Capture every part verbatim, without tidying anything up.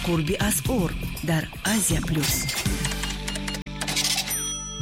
Қурби асъор дар Азия Плюс.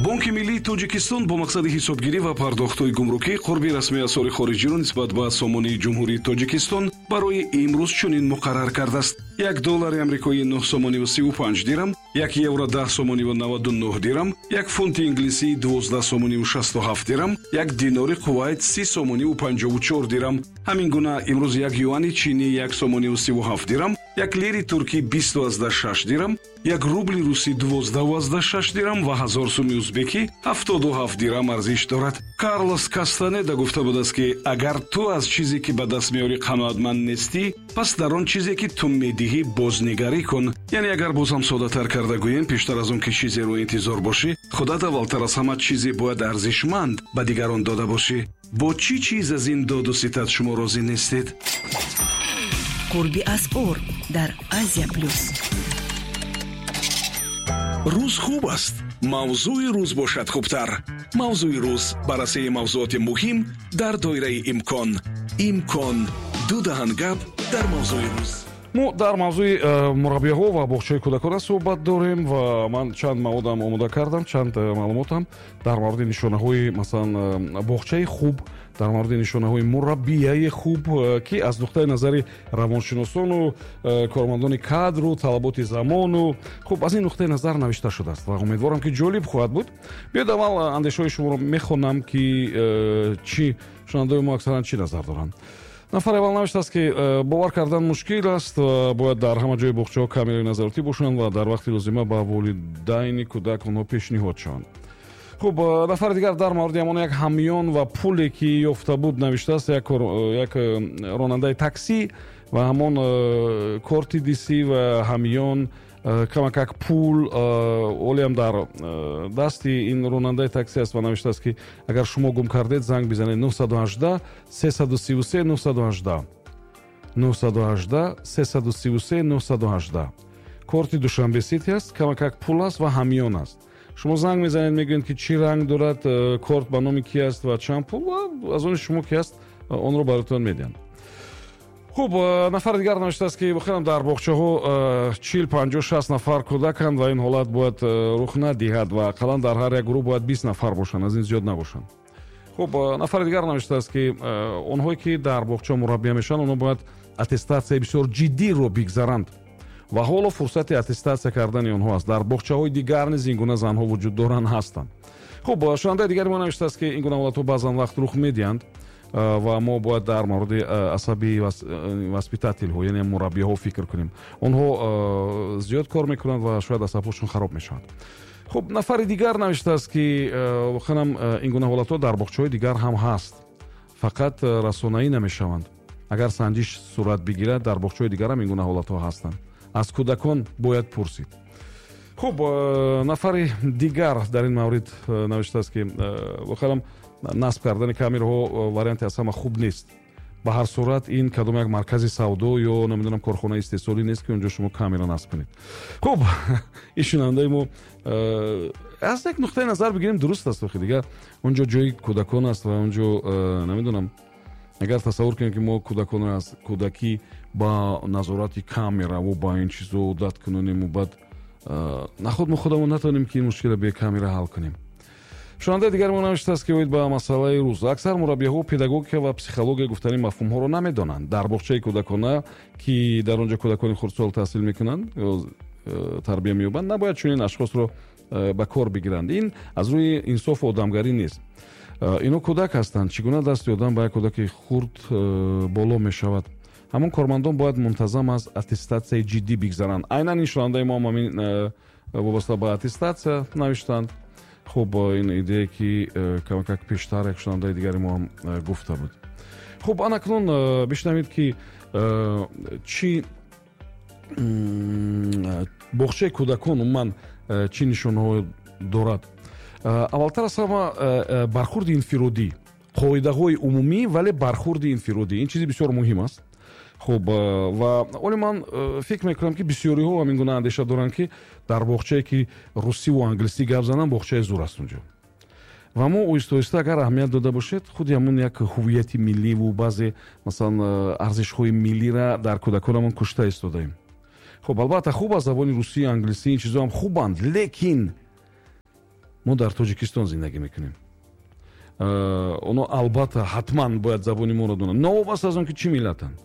Бонки миллии Тоҷикистон бо мақсади ҳисобгирӣ ва пардохтҳои гумрукӣ қурби расмии асъори хориҷиро нисбат ба сомонии Ҷумҳурии Тоҷикистон барои имрӯз чунин муқаррар кардааст: як доллари амрикоӣ нӯҳ сомониву сиву панҷ дирам, як евро даҳ сомониву наваду нӯҳ дирам, як фунти инглисӣ дувоздаҳ сомониву шасту ҳафт дирам, як динори Кувайт си сомониву панҷову чор дирам. Ҳамин гуна имрӯз як юани чинӣ як сомониву сиву ҳафт дирам, як лири туркӣ бисту аздаҳ шаш дирам, як рубли русӣ дувоздаҳу аздаҳ шаш дирам ва ҳазор суми узбекӣ ҳафтоду ҳафт дирам арзиш дорад. Карлос Кастанеда гуфта будааст, ки агар ту аз чизе, ки ба даст меорӣ, қаноатманд нестӣ, пас дар он чизе, ки ту медиҳӣ, бознигарӣ кун. Яъне агар боз ҳам соддатар карда гӯем, пештар аз он ки чизеро интизор бошӣ, худат аввалтар аз ҳама чизе бояд арзишманд ба дигарон дода бошӣ. Бо чӣ чиз аз ин доду ситад шумо розӣ нестед? Қурби асъор дар Азия Плюс. Рӯз хуб аст, мавзӯи рӯз бошад хубтар. Мавзӯи рӯз: баррасии мавзӯоти муҳим дар доираи имкон. Имкон: ду даҳан гап дар мавзӯи рӯз. Мо дар мавзӯи э, мураббиҳо ва боғчаи кӯдакона суҳбат дорем ва ман чанд маводам омода кардам, чанд э, маълумотам дар мавриди нишонаҳои, масалан, э, боғчаи хуб, дар мавриди нишонаҳои мураббияи хуб, ки аз нуқтаи назари равоншиносону кормандони кадру талаботи замону, хуб, аз ин нуқтаи назар навишта шудааст ва умедворам, ки ҷолиб хоҳад буд. Биёед, аввал андешаҳои шуморо мехонам, ки чӣ шунавандаои мо аксаран чӣ назар доранд. Нафари аввал навиштааст, ки э, бовар кардан мушкил аст, бояд дар ҳама ҷои боғчаҳо камераи назоратӣ бошанд ва дар вақти лозима ба волидайни кӯдак онҳо пешниҳод шаванд. Хуб, э, нафари дигар дар мавриди ҳамон як ҳамён ва пуле, ки ёфта буд, навиштааст: як як э, ронандаи таксӣ ва ҳамон корти дисӣ ва ҳамён, камакак пул олиам дар дасти ин ронандаи таксӣ аст ва навиштааст, ки агар шумо гум кардед, занг бизанед нӯҳсаду ҳаждаҳ сесаду сиву се нӯҳсаду ҳаждаҳ, нӯҳсаду ҳаждаҳ сесаду сиву се нӯҳсаду ҳаждаҳ. Корти Душанбе Сити аст, камакак пул аст ва ҳамён аст. Шумо занг мезанед, мегӯед, ки чӣ ранг дорад корт, ба номи ки аст ва чанд пул, ва аз они шумо ки аст, онро бароятон медиҳанд. Хуб, нафари дигар навиштааст, ки воқеан дар боғчаҳо чил, панҷоҳ, шаст нафар кӯдаканд ва ин ҳолат бояд рух надиҳад ва ақаллан дар ҳар як гурӯҳ бояд бист нафар бошанд, аз ин зиёд набошанд. Хуб, нафари дигар навиштааст, ки онҳое, ки дар боғча мураббия мешаванд, онҳо бояд аттестатсияи бисёр ҷиддиро бигзаранд ва ҳоло фурсати аттестатсия кардани онҳо аст. Дар боғчаҳои дигар низ ин гуна занҳо вуҷуд доранд, ҳастанд. Хуб, шунавандаи дигари мо навиштааст, ки ин гуна ҳолатҳо баъзан вақт рух медиҳанд ва мо бояд дар мавриди асаби воспитательҳо, яъне мураббиҳо, фикр кунем. Онҳо зиёд кор мекунанд ва шояд асабҳошон хароб мешаванд. Хуб, нафари дигар навиштааст, ки воқеанам ин гуна ҳолатҳо дар боғчаҳои дигар ҳам ҳаст, фақат расонаӣ намешаванд. Агар санҷиш сурат бигирад, дар боғчаҳои дигар ҳам ин гуна ҳолатҳо ҳастанд, аз кӯдакон бояд пурсид. Хуб, нафари дигар дар ин маврид навиштааст, ки воқеанам насб кардани камераҳо варианти аз ҳама хуб нест. Ба ҳар сурат, ин кадом як маркази савдо ё, намедонам, корхонаи истеҳсолӣ нест, ки онҷо шумо камера насб кунед. Хуб, ин шунавандаи мо аз як нуқтаи назар бигирем, дуруст аст. Охи дигар онҷо ҷои кӯдакон аст ва онҷо, намедонам, агар тасаввур кунем, ки мо кӯдаконро аз кӯдакӣ ба назорати камераву ба ин чизо одат кунонему, баъд наход мо худамон натавонем, ки ин мушкилро бе камера ҳал кунем. Шунавандаи дигари мо навиштааст, ки оид ба масъалаи рӯз аксар мураббиҳо педагогика ва психология гуфтани мафҳумҳоро намедонанд. Дар боғчаи кӯдакона, ки дар он ҷо кӯдакони хурдсол таҳсил мекунанд ё э, тарбия меёбанд, набояд чунин ашхосро э, ба кор бигиранд. Ин аз рӯи инсофу одамгарӣ нест. э, ино кӯдак ҳастанд. Чӣ гуна дасти одам ба як кӯдаки хурд боло мешавад? Ҳамон кормандон бояд мунтазам аз аттестатсияи ҷиддӣ бигзаранд. Айнан ин шунавандаи мо ҳам ҳамин вобаста ба аттестатсия навиштанд. Хуб, ин идея, ки э, камакак пештар як шунавандаи дигари мо ҳам э, гуфта буд. Хуб, анакнун э, бишнавед, ки чӣ боғчаи кӯдакон умуман чӣ нишонаҳо дорад. Аввалтар аз ҳама, бархурди инфиродӣ. Қоидаҳои умумӣ, вале бархурди инфиродӣ — ин чизи бисёр муҳим аст. Хуб, ва оле ман фикр мекунам, ки бисёриҳо ҳамин гуна андеша доранд, ки дар боғчае, ки русиву англисӣ гап зананд, боғчаи зур аст. Унҷо Ва мо оҳиста оҳиста, агар аҳамият дода бошед, худи ҳамун як ҳуввияти милливу баъзе, масалан, арзишҳои миллира дар кӯдаконамон кушта истодаем. Хуб, албатта, хуб аст забони русӣ, англисӣ, ин чизҳоам хубанд, лекин мо дар Тоҷикистон зиндагӣ мекунем. Оно, албатта, ҳатман бояд забони моро донанд, новобаста аз он ки чӣ миллатанд.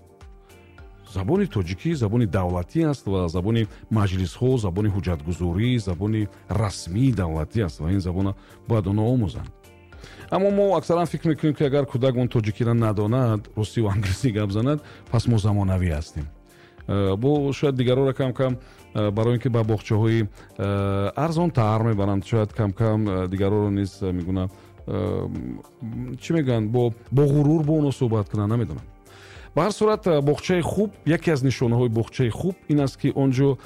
Забони тоҷикӣ забони давлатӣ аст ва забони маҷлисҳо, забони ҳуҷҷатгузорӣ, забони расмии давлатӣ аст ва ин забонро бояд онҳо омӯзанд. Аммо мо аксаран фикр мекунем, ки агар кӯдак он тоҷикиро надонад, русиву англисӣ гап занад, пас мо замонавӣ ҳастем. Бо шояд дигарҳоро кам-кам барои ин ки ба боғчаҳои арзонтар мебаранд, шояд кам-кам дигарҳоро низ мегуна, чӣ мегӯянд, бо ғурур бо онҳо суҳбат кунанд, намедонам. Ба ҳар сурат, боғчаи хуб, яке аз нишонаҳои боғчаи хуб ин аст, ки он ҷо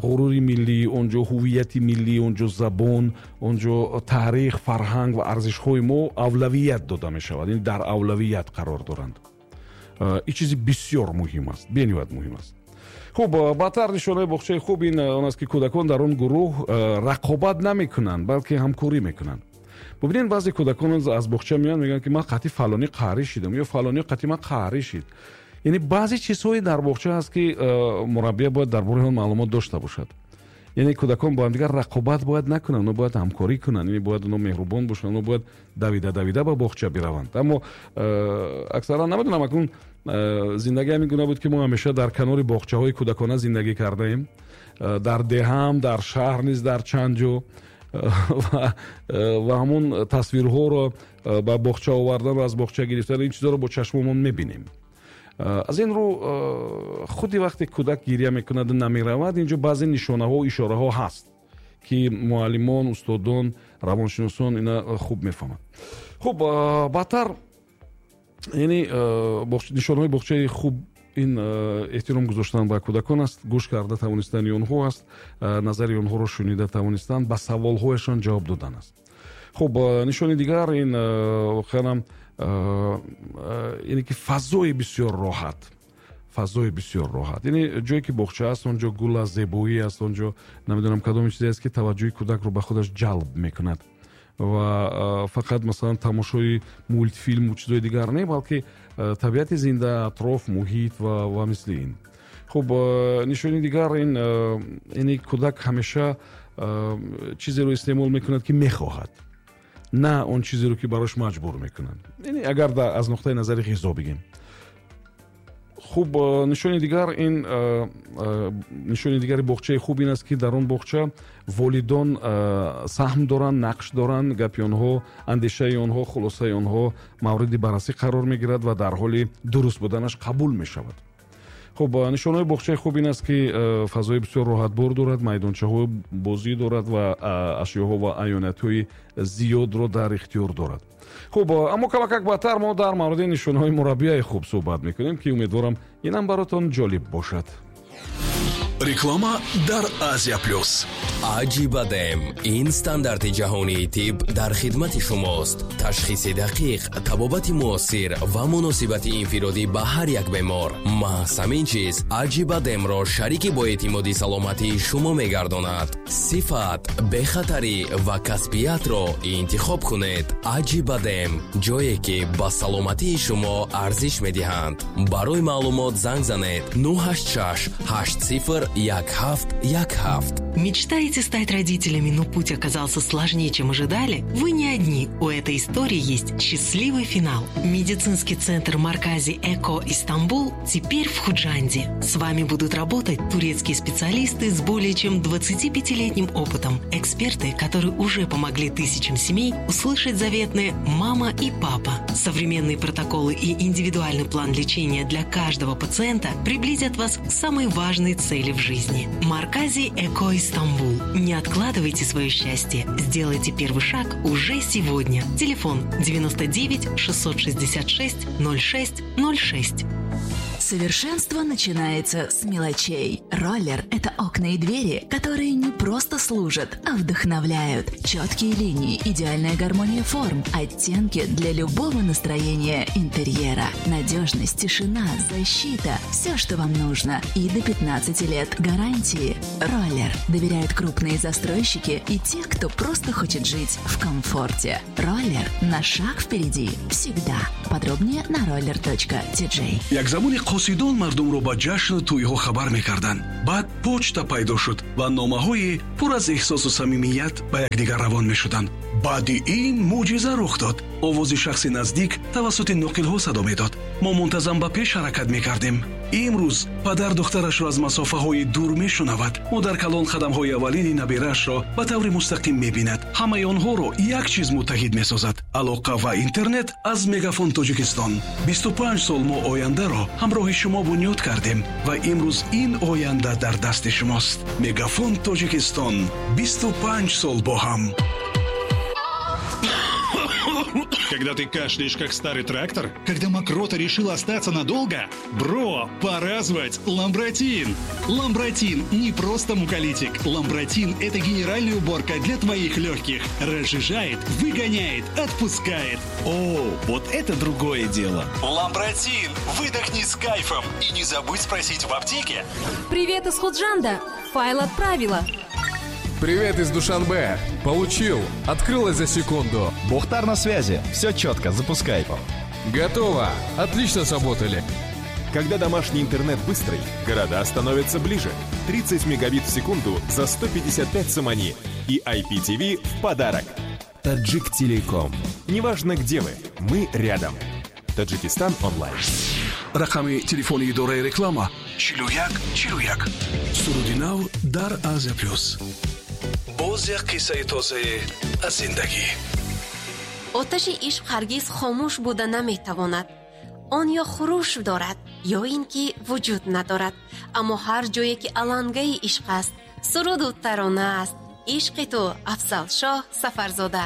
ғурури миллӣ, он ҷо ҳуввияти миллӣ, он ҷо забон, он ҷо таърих, фарҳанг ва арзишҳои мо авлавият дода мешавад, яъне дар авлавият қарор доранд. Ин чизи бисёр муҳим аст, бениҳоят муҳим аст. Хуб, баъдтар нишонаи боғчаи хуб ин он аст, ки кӯдакон дар он гурӯҳ рақобат намекунанд, балки ҳамкорӣ мекунанд. Бубинед, баъзе кӯдакон аз боғча меоянд, мегӯянд, ки ман қатъи фалонӣ қаҳрӣ шидам ё фалонӣ қатъи ман қаҳрӣ шид. Яъне баъзе чизҳое дар боғча ҳаст, ки мураббия бояд дар бораи он маълумот дошта бошад. Яъне кӯдакон бо ҳамдигар рақобат бояд накунанд, онҳо бояд ҳамкорӣ кунанд, яъне бояд онҳо меҳрубон бошанд, онҳо бояд давида давида ба боғча бираванд. Аммо аксаран, намедонам, акнун зиндагӣ ҳамин гуна буд, ки мо ҳамеша дар канори боғчаҳои кӯдакона зиндагӣ кардаем, дар деҳам, дар шаҳр низ, дар чанд ҷо, ва ҳамон тасвирҳоро ба боғча овардан ва аз боғча гирифтан, ин чизҳоро бо чашмомон мебинем. Аз ин рӯ, худи вақте кӯдак гиря мекунад, намеравад, инҷо баъзе нишонаҳо, ишораҳо ҳаст, ки муаллимон, устодон, равоншиносон ина хуб мефаҳманд. Хуб, баъдтар, яъне нишонаҳои боғчаи хуб ин эҳтиром гузоштан ба кӯдакон аст, гӯш карда тавонистани онҳо аст, назари онҳоро шунида тавонистан, ба саволҳояшон ҷавоб додан аст. Хуб, нишони дигар ин воқеан яъне ки фазои бисёр роҳат, фазои бисёр роҳат, яъне ҷое ки боғча аст, он ҷо гул аст, зебоӣ аст, он ҷо намедонам кадом чизе аст, ки таваҷҷӯҳи кӯдакро ба худаш ҷалб мекунад ва фақат, масалан, тамошои мултфилму чизҳои дигар не, балки табиати зинда, атроф, муҳит ва ва мисли ин. Хуб, нишони дигар ин, яъне кӯдак ҳамеша чизеро истеъмол мекунад, ки мехоҳад, на он чизеро, ки барош маҷбур мекунанд, яъне агар аз нуқтаи назари ғизо бигем. Хуб, нишони дигар ин, нишони дигари боғчаи хуб ин аст, ки дар он боғча волидон саҳм доранд, нақш доранд, гапи онҳо, андешаи онҳо, хулосаи онҳо мавриди баррасӣ қарор мегирад ва дар ҳоли дуруст буданаш қабул мешавад. Хуб, нишонаҳои боғчаи хуб ин аст, ки фазои бисёр роҳатбор дорад, майдончаҳои бозӣ дорад ва ашёҳо ва аёнатҳои зиёдро дар ихтиёр дорад. Хуб, аммо камакак баъдтар мо дар мавриди нишонаҳои мураббияи хуб суҳбат мекунем, ки умедворам, инам баротон ҷолиб бошад. Реклама дар Азия Плюс. Аҷибадем ин стандарти ҷаҳонии тиб дар хидмати шумост. Ташхиси дақиқ, табобати муосир ва муносибати инфиродӣ ба ҳар як бемор. Маҳз ҳамин чиз Аҷибадемро шарики боэътимоди саломатии шумо мегардонад. Сифат, бехатарӣ ва касбиятро интихоб кунед. Аҷибадем, ҷое ки ба саломатии шумо арзиш медиҳанд. Барои маълумот занг занед нӯҳ ҳашт шаш ҳашт сифр як ҳафт як ҳафт. Мечтаете стать родителями, но путь оказался сложнее, чем ожидали? Вы не одни. У этой истории есть счастливый финал. Медицинский центр Маркази Эко Истамбул теперь в Худжанде. С вами будут работать турецкие специалисты с более чем двадцатипятилетним опытом. Эксперты, которые уже помогли тысячам семей услышать заветные «мама» и «папа». Современные протоколы и индивидуальный план лечения для каждого пациента приблизят вас к самой важной цели в жизни. Маркази Эко Истамбул. Не откладывайте свое счастье. Сделайте первый шаг уже сегодня. Телефон девяносто девять шестьсот шестьдесят шесть ноль шесть ноль шесть. Совершенство начинается с мелочей. Роллер – это окна и двери, которые не просто служат, а вдохновляют. Четкие линии, идеальная гармония форм, оттенки для любого настроения интерьера. Надежность, тишина, защита – все, что вам нужно. И до пятнадцати лет гарантии. Роллер доверяют крупные застройщики и те, кто просто хочет жить в комфорте. Роллер на шаг впереди всегда. Подробнее на роллер точка ти джей. Як замони қосидон мардумро ба ҷашну тӯйҳо хабар мекарданд. Баъд почта пайдо шуд ва номаҳои пур аз эҳсосу самимият ба якдигар равон мешуданд. Баъди ин мӯъҷиза рух дод. Овози шахси наздик тавассути ноқилҳо садо медод. Мо мунтазам ба пеш ҳаракат мекардем. Имрӯз падар духтарашро аз масофаҳои дур мешунавад. Модар калон қадамҳои аввалини набираашро ба таври мустақим мебинад. Ҳамаи онҳоро як чиз муттаҳид месозад: алоқа ва интернет аз Мегафон Тоҷикистон. бисту панҷ сол мо ояндаро ҳамроҳи шумо бунёд кардем ва имрӯз ин оянда дар дасти шумост. Мегафон Тоҷикистон, бисту панҷ сол бо ҳам. Когда ты кашляешь, как старый трактор? Когда мокрота решила остаться надолго? Бро, пора звать Ламбратин! Ламбратин не просто муколитик. Ламбратин – это генеральная уборка для твоих легких. Разжижает, выгоняет, отпускает. О, вот это другое дело! Ламбратин! Выдохни с кайфом! И не забудь спросить в аптеке. Привет из Худжанда! Файл отправила. Привет из Душанбе. Получил. Открылось за секунду. Бухтар на связи. Все четко. Запускай. Готово. Отлично сработали. Когда домашний интернет быстрый, города становятся ближе. тридцать мегабит в секунду за сто пятьдесят пять сомони. И ай пи ти ви в подарок. Таджик Телеком. Неважно, где вы, мы рядом. Таджикистан онлайн. Рақами телефони идораи реклама чилу як чилу як. Суруди нав дар Азия Плюс. Боз як қиссаи тозае аз зиндагӣ. Оташи ишқ ҳаргиз хомӯш буда наметавонад. Он ё хуруш дорад, ё ин ки вуҷуд надорад. Аммо ҳар ҷое ки алангаи ишқ аст, суруду тарона аст. Ишқи ту, Афзалшоҳ Сафарзода.